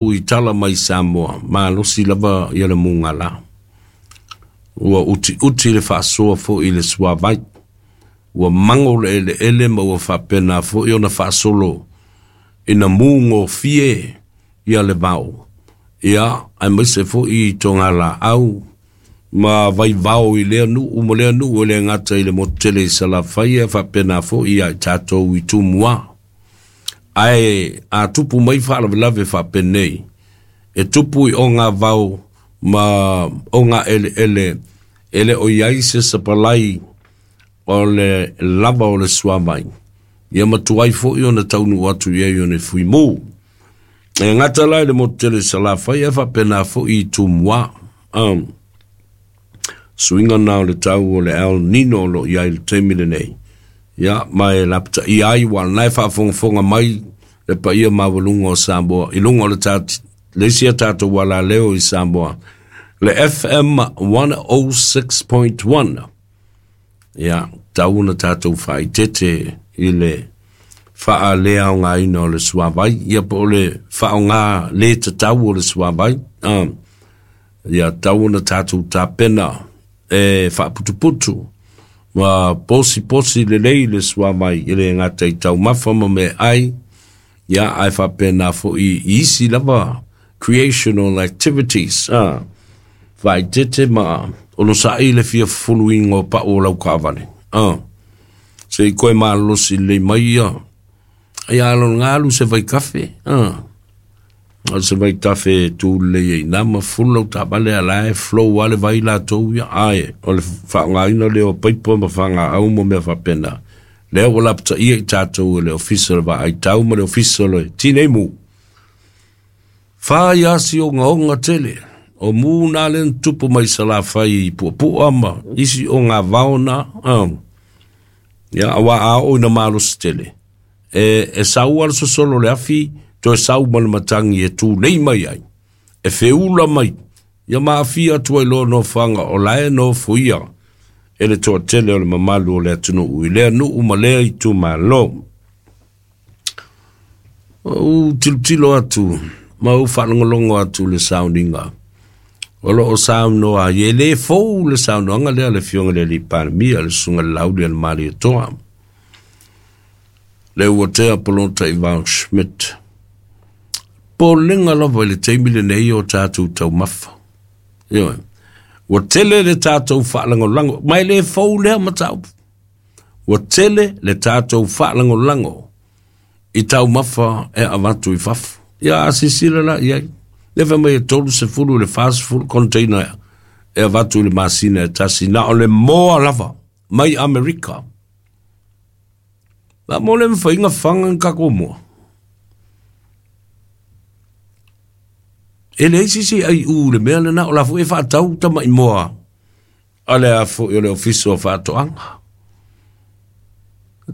I tala mai Samoa, malosi lava ia le mugala. Ua utiuti le faasoa foi i le suavai. Ua mago le eleele ma ua faapena foi ona faasolo ina mu gofie ia le vao. Ia, aemaise foi i togalaau ma vaivao i lea nuu ma lea nuu e le gata i le motu tele i Salafai ae faapena foi ia i tatou i Tumua. Ae a tupu mai faalavelave faapenei, e tupu i ogavao ma ogaeleele e le o i ai se sapalai o le lava o le suavai, ia matuai foi ona taunuu atu i ai o le fuimu. E gata la i le motu tele i Salafai ae faapena foi i Tumua. Suiga na o le tau o le El Nino o lo o i ai i le taimi lenei. Ia, ma e lapataia ai ua lena e faafogafoga mai le paia maualuga o Samoa i luga o le le isi a tatou alaleo i Samoa, le FM 106.1. Ia, tau ona tatou faaeteete i le faaleaogaina o le suavai, ia po o le faaaoga le tatau o le suavai. Ia tau ona tatou tapena e faaputuputu ma posiposi lelei le suavai e le gata i taumafa ma meaai, ia ae faapena foi i isi lava creational activities. Faaeteete ma onosai le fia fufuluina o pau o lau taavale. Se i koe malolosi lelei mai ia. Ia alo galu se vaitafe. O se vaitafe e tu lelei ai ina ma fufulu lau taavale a la e flow lava le vai latou ia. Ae o le faaaogaina lea o paipa ma fagaau ma mea faapena. Lea ua lapataia i tatou e le Ofisa o le Vaaitau ma le Ofisa o le Tineimu. Fai asi ogaoga tele. O mu na lea na tupu mai Salafai i Puapua ma isi ogavao na. Ia, aua a oo ina malosi tele, e sau lava le sosolo o le afi, toe sau ma le matagi e tulei mai ai, e feula mai, ia ma aafia atu ai loa nofoaga o la e nofoia e le toatele o le mamalu o le atunuu i lea nuu ma lea itumalo. Ou tilotilo atu ma ou faalogologo atu i le sauniga o lo o saunoa ai, e le fou le saunoaga lea a le Afioga i le Alii Palemia, le Susuga i le Lauli a le Malietoa, le Uatea Polota Ivao Schmidt. Popolega lava i le taimi lenei o tatou taumafa. Ioe. Ua tele le tatou faalagolago, ma e le fou lea mataupu. Ua tele le tatou faalagolago i taumafa e avatu i fafo. Ia a silasila la i ai, lea fai mai e 30 i le 40 container e avatu i le masina e tasi, na o le moa lava mai Amerika. La mo le mafaiga faga ni tatou moa. E leai se isi ai u le mea lena, o la foi e faatau tamai moa a le a foi o le Ofisa o Faatoaga.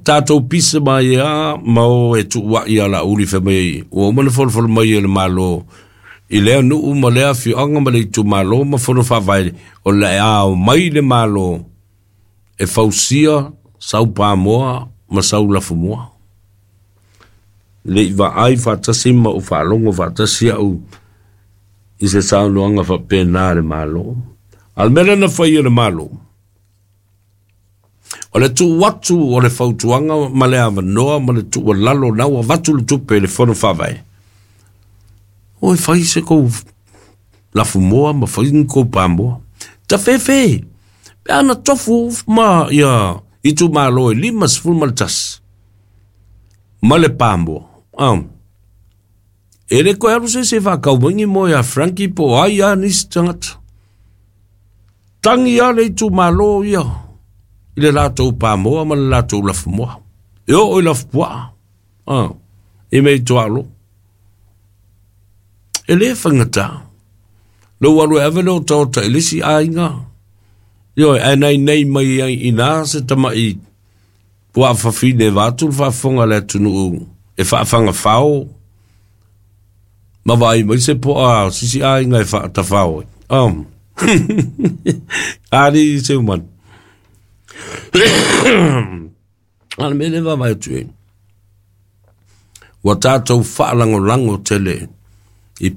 Tatou pisa mai a ma o e tuuai ia Laauli fai mai ua uma ona folafolo mai e le Malo i lea nuu ma lea afioaga ma le itumalo ma fono faavae o le a omai le Malo e fausia sau pamoa ma sau lafumoa. Le i vaai faatasi ma ou faalogo faatasi au i se saunoaga faapena a le Malo. A o le mea lea na fai e le Malo, o le tuu atu o le fautuaga ma le avanoa ma le tuualalo na ua avatu le tupe i le Fono Faavae, o e fai se kou lafumoa ma fai ni kou pamoa. Tafefe, pe ana tofu ma ia itumalo e 51 ma le pamoa. E le koe alu se isi e faakau mai ni moe a Frankie po o ai a nisi tagata. Tangi lava le itumalo ia i le latou pamoa ma le latou lafumoa. E oo i lafupuaa, i mea i tuaolo. E le faigata. Lou alu e ave le otaota i le isi aiga, ioe, ae nainai mai ai i ina se tamai puaa fafine vaeatu le faafofoga a le atunuu e faafagafao ma vaai mai se poa o sisi aiga e faatafao ai. Alii Seumanu. A o le mea lea e vaavaai atu i ai, ua tatou faalagolago tele I.